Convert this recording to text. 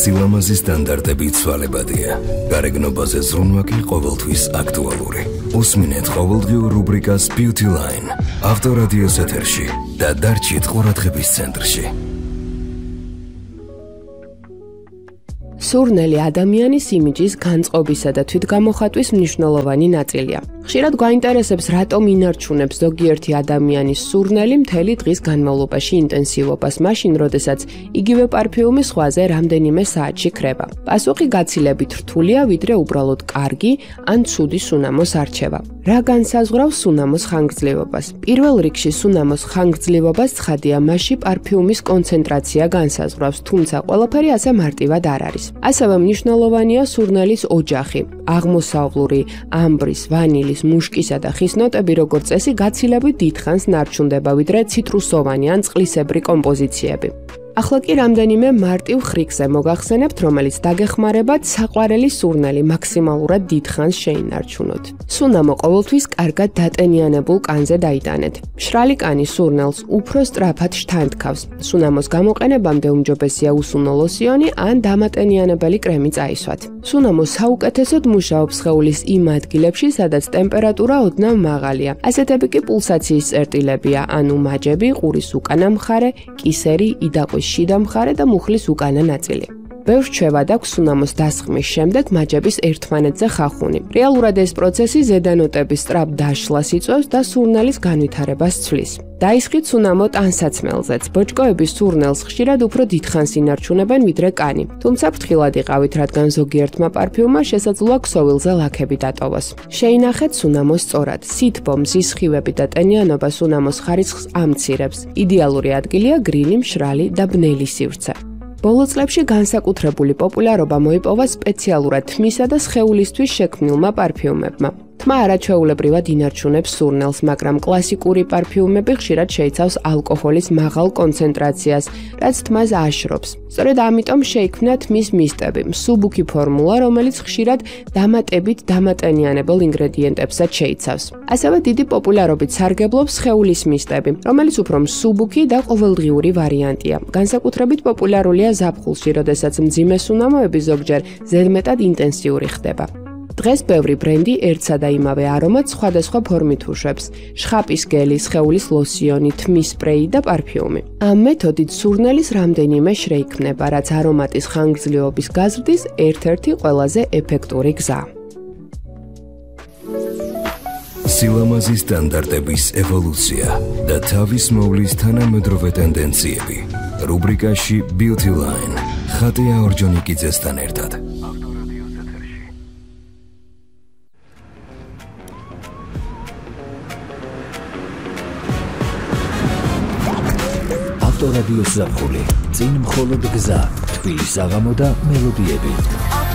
სილამაზის სტანდარტები ცვალებადია. გარეგნობაზე ზრუნვა კი ყოველთვის აქტუალური. უსმინეთ ყოველდღიურ რუბრიკას Beauty Line. ავტორადიოს ეთერში და დარჩით ყურადღების ცენტრში. სურნელი ადამიანის იმიჯის განწყობისა და თვითგამოხატვის მნიშვნელოვანი ნაწილია. ხშირად გვაინტერესებს, რატომ ინარჩუნებს ზოგიერთი ადამიანის სურნელი მთელი დღის განმავლობაში ინტენსივობას, მაშინ, როდესაც იგივე პარფიუმი სხვაზე რამდენიმე საათში ქრება. პასუხი გაცილებით რთულია, ვიდრე უბრალოდ კარგი ან ცუდი სუნამოს არჩევა. რა განსაზღვრავს სუნამოს ხანგრძლივობას? პირველ რიგში სუნამოს ხანგრძლივობას ცხადია მასში პარფიუმის კონცენტრაცია განსაზღვრავს, თუმცა ყველაფერი ასე მარტივად არ არის. ასევე მნიშვნელოვანია სურნელის ოჯახი. აღმოსავლური, ამბრის, ვანილის, მუშკისა და ხის ნოტები, როგორც წესი, გაცილებით დიდხანს ნარჩუნდება, ვიდრე ციტრუსოვანი ან წყლისებრი კომპოზიციები. ახლა კი რამდენიმე მარტივ ხრიკზე მოგახსენებთ, რომელიც დაგეხმარებათ საყვარელი სურნელი მაქსიმალურად დიდხანს შეინარჩუნოთ. სუნამო ყოველთვის კარგად დატენიანებულ კანზე დაიტანეთ. მშრალი კანი სურნელს უფრო სწრაფად შთანთქავს. სუნამოს გამოყენებამდე უმჯობესია უსუნო ლოსიონი ან დამატენიანებელი კრემი წაისვათ. სუნამო საუკეთესოდ მუშაობს სხეულის იმ ადგილებში, სადაც ტემპერატურა ოდნავ მაღალია. ასეთები კი პულსაციის წერტილებია, ანუ მაჯები, ყურის უკანა მხარე, კისერი, იდაყვის შიდა მხარე და მუხლის უკანა ნაწილი. ბევრ რჩევად აქვს სუნამოს დასხმის შემდეგ მაჯების ერთმანეთზე ხახუნი. რეალურად ეს პროცესი ზედანოტების სწრაფ დაშლას იწვევს და სურნელის განვითარებას ცვლის. დაისხით სუნამო ტანსაცმელზეც. ბოჭკოების სურნელს ხშირად უფრო დიდხანს ინარჩუნებენ ვიდრე კანი. თუმცა ფრთხილად იყავით, რადგან ზოგიერთმა პარფიუმმა შესაძლოა ქსოვილზე ლაქები დატოვოს. შეინახეთ სუნამოს სწორად. სითბო, მზის სხივები და ტენიანობა სუნამოს ხარისხს ამცირებს. იდეალური ადგილია გრილი, მშრალი და ბნელი სივრცე. ბოლო წლებში განსაკუთრებული პოპულარობა მოიპოვა სპეციალურად თმისა და სხეულისთვის შექმნილმა პარფიუმებმა. თმა არაჩვეულებრივად ინარჩუნებს სურნელს, მაგრამ კლასიკური პარფიუმები ხშირად შეიცავს ალკოჰოლის მაღალ კონცენტრაციას, რაც თმას აშრობს. სწორედ ამიტომ შეიქმნა თმის მისტები, მსუბუქი ფორმულა, რომელიც ხშირად დამატებით დამატენიანებელ ინგრედიენტებსაც შეიცავს. ასევე დიდი პოპულარობით სარგებლობს სხეულის მისტები, რომელიც უფრო მსუბუქი და ყოველდღიური ვარიანტია. განსაკუთრებით პოპულარულია ზაფხულში, როდესაც მძიმე სუნამოები ზოგჯერ ზედმეტად ინტენსიური ხდება. დღეს ბევრი ბრენდი ერთსა და იმავე არომატს სხვადასხვა ფორმით უშვებს: შხაპის გელი, სხეულის ლოსიონი, თმის სპრეი და პარფიუმი. ამ მეთოდით სურნელის რამდენიმე შეიქმნება, რაც არომატის ხანგრძლივობის გაზრდის ერთ-ერთი ყველაზე ეფექტური გზაა. სილამაზის სტანდარტების ევოლუცია და თავის მოვლის თანამედროვე ტენდენციები. რუბრიკაში Beauty Line. ხატია ორჯონიკიძესთან ერთად. ავტორადიოს ზაფხული. წინ მხოლოდ გზა, თბილი საღამო და მელოდიები.